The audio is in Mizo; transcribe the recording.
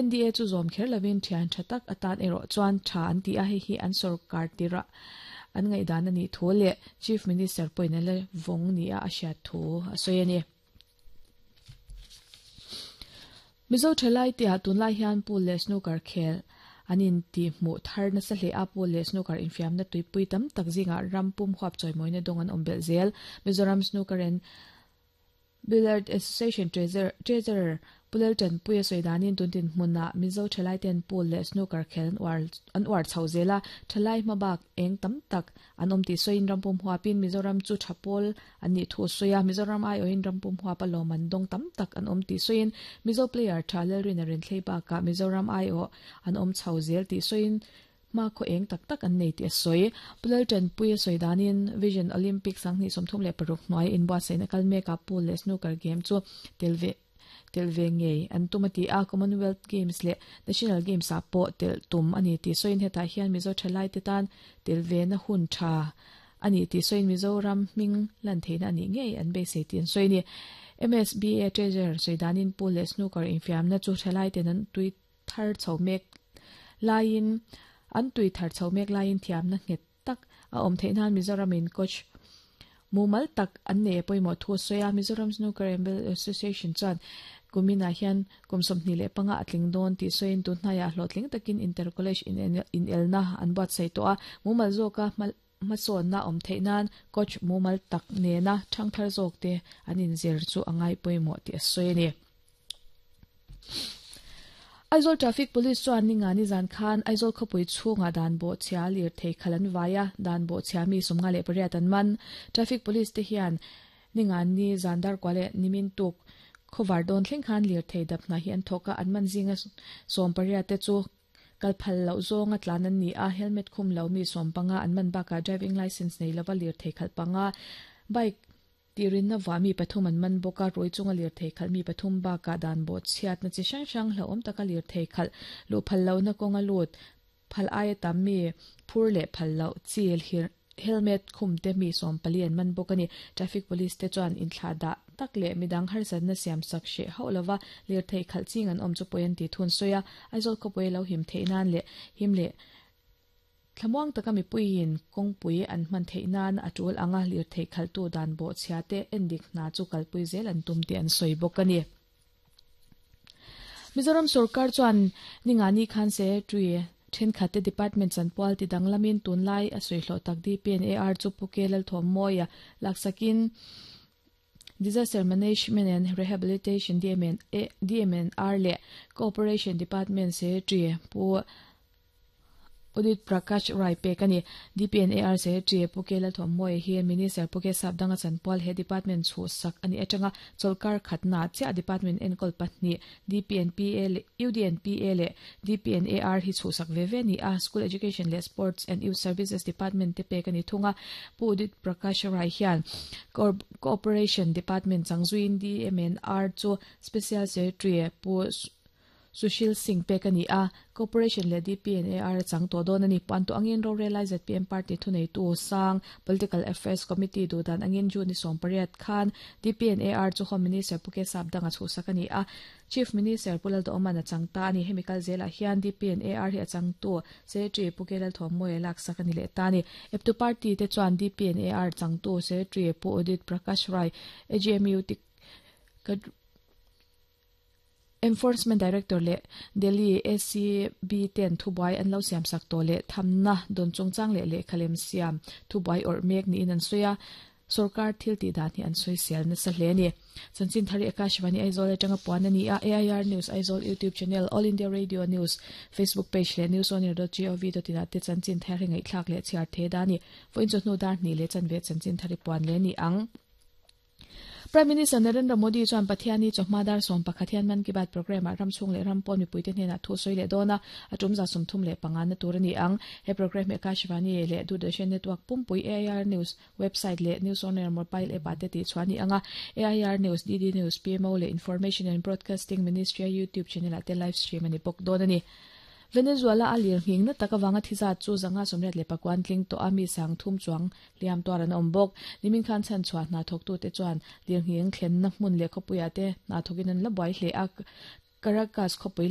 NDA chu zawm kher lovin thian tha tak atan erawh chuan tha an ti a, hei hi an sorkar tirah an ngaihdan a nih thu leh Chief Minister pawhin a la vawng nia a hriat thu a sawi a ni. Mizo thalai te ah tunlai hian pool leh snooker khel an inti hmuh thar nasa hle a, pool leh snooker infiamna tuipui tam tak zingah ram pum huap chawimawina dawng an awm belh zel. Mizoram Snooker and Billiard Association Treasurer Pu Laltanpuia sawi danin tun dinhmunah Mizo thalaiten pool leh snooker khel an uar an uar chho zel a, thalai hmabak eng tam tak an awm tih sawiin rampum huapin Mizoram chu tha pawl an nih thu a sawi a, Mizoram aiawhin rampum huapa lawm an dawng tam tak an awm tih sawiin Mizo player tha Lalrina Renthlei bakah Mizoram aiawh an awm chho zel tih sawiin Hma khaw eng tak tak an nei tih a sawi. Pu Laltanpui a sawi danin Vision Olympic 2036 hnuai inbuatsaihna kal mekah pool leh snooker game chu tel ve tel ve ngei an tum a ti a, Commonwealth Games leh National Games ah pawh telh tum a ni tih sawiin hetah hian Mizo thalaite tan tel ve na hun tha a ni tih sawiin Mizoram hming lan theihna a nih ngei an beisei tih an sawi a ni. MSBA Treasurer sawi danin pool leh snooker infiamna chu thalaiten an tui thar chho mek laiin an tui thar chho mek laiin thiamna nghet tak a awm theih nan Mizoramin coach mumal tak an nei a pawimawh thu a sawi a. Mizoram Snooker and Billiard Association chuan kuminah hian kum 25 a tling dawn tih sawiin tun hnaiah hlawhtling takin Inter College inelna an buatsaih tawh a, mumal zawka hmasawnna awm theih nan coach mumal tak nena thangthar zawkte an inzir chu a ngai pawimawh tih a sawi a ni. Aizawl Traffic Police chuan ninga nizan khan Aizawl khawpui chhungah dan bawhchhia lirthei khalh an vai a, dan bawhchhia mi 58 an man. Traffic Police te hian ninga ni zan darkua leh nimin tuk khawvar dawn thleng khan lirthei dap hna hi an thawk a, an man zinga 18 te chu kal phal loh zawnga tlan an ni a, helmet khum lo mi 15 an man bakah driving licence nei lova lirthei khalh panga bike Tirinna vah mi pathum an man bawk a, ruai chunga lirthei khalh mi pathum bakah dan bawh chhiatna chi hrang hrang hlauhawm taka lirthei khalh luh phal lohna kawnga lut phal aia tam mi phur leh phal loh chi helmet khum te mi 14 an man bawk a ni. Traffic Police te chuan inthlah dah tak leh midang harsatna siam sak hreh hauh lova lirthei khalh ching an awm chu pawi an tih thun sawi a, Aizawl khawpui a lo him theih nan leh him leh Thlamuang taka mipuiin kawngpui an hman theih nan a tul anga lirthei khalhtu dan bawhchhia te endik hna chu kalpui zel an tum tih an sawi bawk a ni. Mizoram sorkar chuan ningani khan secretary thenkhat te department chanpual ti danglamin tunlai a sawi hlawh tak DPNAR chu Pu K Lalthawmmawia laksakin Disaster Management and Rehabilitation DMNR leh Cooperation Department Secretary Pu Udit Prakash Rai pek a ni. DPNAR Secretary Pu K Lalthawmmawia hi Minister Pu K Sapdanga chanpual he department chhuhsak a nih atanga chawlhkar khatna chiah department enkawl pahnih DPNPA leh UDNPA leh DPNAR hi chhuhsak ve ve a ni a, School Education leh Sports and Youth Services Department te pek a ni thung a. Pu Udit Prakash Rai hian Cooperation Department changzuiin DMNR chu Special Secretary Pu Sushil Singh pek a ni a, Cooperation leh DPNAR a chang tawh dawn a ni. Puan tawh angin rorel lai zpm party thuneitu sang Political Affairs Committee duhdan angin June ni 18 khan DPNAR chu Home Minister Pu K Sapdanga chhuhsak a ni a, Chief Minister Pu Lalduhawma'n a chang ta a ni. Hemi kal zelah hian DPNAR hi a changtu Secretary Pu K Lalthawmmawia laksak a ni leh ta a ni. Eptu party te chuan DPNAR changtu Secretary Pu Udit Prakash Rai, AGMU Enforcement Director leh Delhi ACB ten thubuai an lo siamsak tawh leh thamna dawn chungchang leh lehkha lem siam thubuai awrh mek niin an sawi a, sorkar thil tih dan hi an sawi sial nasa hle a ni. Chanchin Thari Akashvani Aizawl atanga puan a ni a, AIR News Aizawl YouTube channel, All India Radio News Facebook page leh newsonair.gov.in ah te chanchin thar hi ngaihthlak leh chhiar the da a ni. Vawiin chawhnu dar hnih leh chanve chanchin thari puan leh a ni ang. Prime Minister Narendra Modi chuan Pathiani chawhma dar 11 hian Mann Ki Baat programme-ah ram chhung leh ram pawn mipuite hnenah thu sawi leh dawn a, a tum 35 na tur a ni ang. He programme hi Akashvani leh Doordarshan Network pumpui AIR News website leh News On Air mobile app-ah te tihchhuah a ni ang a, AIR News, DD News, PMO leh Information and Broadcasting Ministry-a YouTube channel-ah te live stream a ni bawk dawn a ni. Venezuela a lir nghing na tak avanga thi zat chu 589 an tling tawh a, mi 3000 chuang hliam tuar an awm bawk. Nimin khan chhanchhuah hna thawktute chuan lirnghing thlenna hmun leh khawpuiah te hna thawkin an la buai hle a, Caracas khawpui leh.